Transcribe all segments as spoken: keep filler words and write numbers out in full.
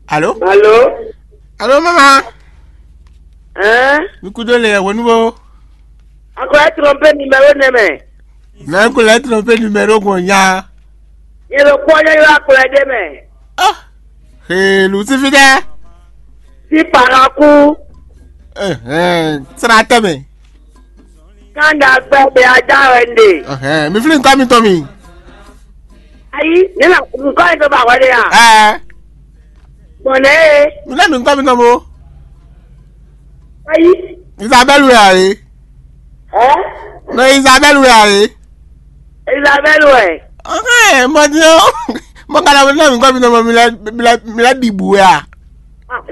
Alo? Alo? Alo, mama? Hein? Mi kudo le wonu bo. Encore tromper numéro nɛ mɛ. Mɛ ko lɛ tromper numéro ko nya. Ye lo kpɔ ye yo akplɛ de mɛ. Ah. He, Lucifer dɛ. Si paraku. Eh, eh, sra tɛ mɛ. Kanda gbɛ be aja wɛ nde. Eh, eh, mi fili nka mi tɔ mi. Ayi, ne na nka ye to ba wɛ de ya. Eh. Bɔnɛ ye. Mi lɛ mi nka mi tɔ mo. Ayi. Isabelle wɛ a ye. Ɛ? Nɔ Isabelle wɛ a ye. Isabelle wɛ. Ɔhɛn, mɔ di o. Mɔ kana wɛ na mi nka mi tɔ mo mi lɛ mi lɛ mi lɛ ɖi bu wɛ a.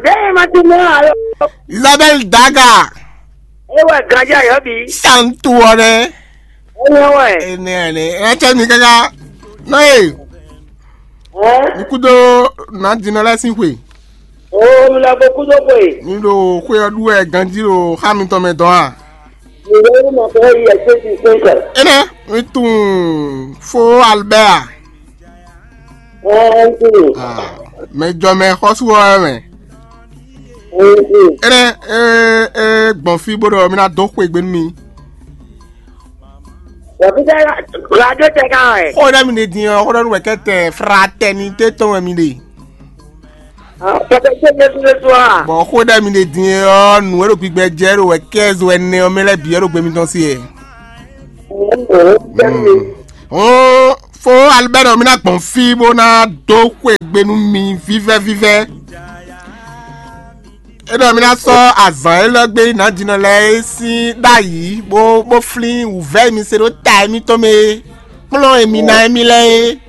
Bẹ́ẹ̀ ma ti mọ́ àlọ́. Isabelle Daga. Ewɛ ganjá yɔ bi. Santu wɔ dɛ. Enɛ wɛ. Enɛ ne. Ɛ tsɛ mi kaka. Nɔ ye. Ɛ? Mi kudo na dinɔ lɛ sin xwe. O mi lɔ bo kudo xwe. Mi ɖo xwe ɔ ɖu wɛ ganji ɖo xa mitɔn mɛ dɔn a? Mi ɖo yi ma fɛ yi ɛsɛ ti sɛn kɛ. Enɛ mi tun fo Albert a? Ɛ n tun. Ah, mɛ jɔ mɛ xɔsu wɛ mɛ. Ɛ n tun. Enɛ e e gbɔn fi bó ɖɔ mi ná dó xwe gbe nú mi. Wɔ fi tɛ radio tɛ kan wɛ. Xó ɖe mi ɖe din ɔ, xó ɖe nu wɛ kɛ tɛ fraternité tɔn wɛ mi ɖe. Pɛtɛ tɛ Jesu Jesu a. Bɔn xó ɖe mi ɖe din ɔ, nu e ɖo gbigbɛ jɛ ɖo wɛ kɛz wɛ nɛ ɔ mɛ lɛ bi ɛ ɖo gbe mitɔn si yɛ. Hɔn fo Albert mi ná gbɔn fi bó ná dó xwe gbe nú mi vívɛ vívɛ. É ɖɔ mi ná sɔ́ azǎn élɔ́ gbe nǎjínɔ lɛ́ɛ é sín ɖ'ayǐ, bó bó flín wǔvɛ́ e mi se ɖó ta émítɔn mɛ é, kplɔ́n e mi ná émí lɛ́ɛ é,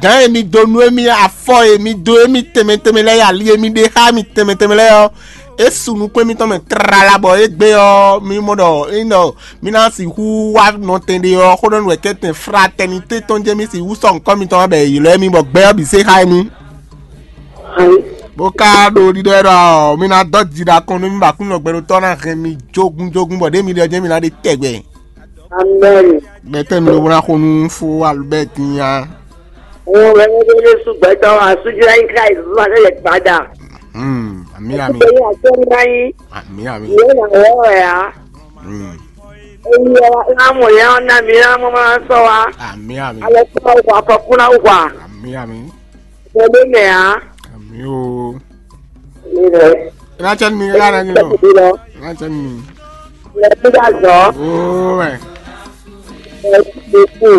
gǎn e mi dó nú émí, afɔ e mi dó émí tɛnmɛ tɛnmɛ lɛ́ɛ, ali e mi ɖe xá émí tɛnmɛ tɛnmɛ lɛ́ɛ ɔ́, é su nukún émítɔn mɛ tlala bɔ égbé ɔ́, mi mɔ ɖɔ é nyí ɖɔ mi ná sixú wá nɔtɛn ɖé ɔ́, xó ɖɔ nú wɛ kɛ́tɛn fraternité tɔn jɛ́n mi sixú sɔ́ nǔkɔ mitɔn wá bɔ è ylɔ́ émí bɔ gbɛ ɔ́ bǐ se xá émí. Bó ka ɖo ɖiɖɔ ɛ ɖɔ mi ná dɔ́ ji ɖo akɔn nú mì bɔ Aklúnɔ gbɛɖotɔ́ ná hɛn mi jógún jógún bɔ ɖěe mi ɖe ɔ́ jɛ́n mi ná ɖe tɛgbɛ. Amɛn. Gbɛtɛ́ mi ɖokpó ná xo nú fó Albert nya. Òun wɛ ní ɖé sú gbɛtɔ́ asújúlá yín ká ìlú máa lẹ́yìn padà. Hmm, àmì àmì. Ẹ̀yin àjọ ńlá yín. Àmì àmì. Ìyẹn là wọ́ ẹ̀ á. Hmm. Èyí ẹ̀ wá mọ̀ yẹn ọ́n náà mi rán mọ́ máa ń sọ wá. Àmì àmì. Alẹ́ tí wọ́n wà kọ́kúnná wà. Àmì àmì. Bọ̀dé mẹ́ á. Àmì o. Ilẹ̀. Ìrántí mi rárá ni lọ. Ìlọ. Ìrántí mi. Ilẹ̀ tó dà zọ́. Ó ẹ̀. Ẹ̀ tó kù.